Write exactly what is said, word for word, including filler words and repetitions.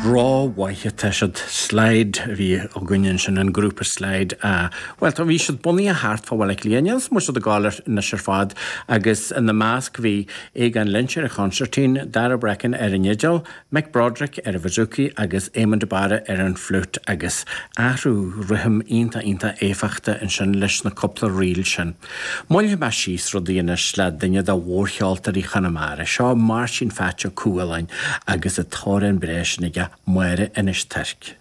Ró-mhaith atá siad. Slide a bhí againn ansin, an grúpa Slide. Bhuel, tá, bhí siad bunaithe thart fá Bhaile Átha Cliath, níl a fhios an bhfuil siad ag gabháil anois ar fad, agus ina measc bhí Aogán Lynch ar an chonsairtín, Darragh Breakin ar an fhidil, Mick Broderick ar an bhouzouki agus Éamon de Barra ar an fliúit agus athrú rithim iontach iontach éifeachtach ansin leis na cúpla ríl sin. Moillfidh mé síos rudaí anois le duine de mhórcheoltóirí Chonamara, seo Máirtín Pheait Ó Cualáin agus an t-amhrán breá sin aige, Máire Inis Toirc.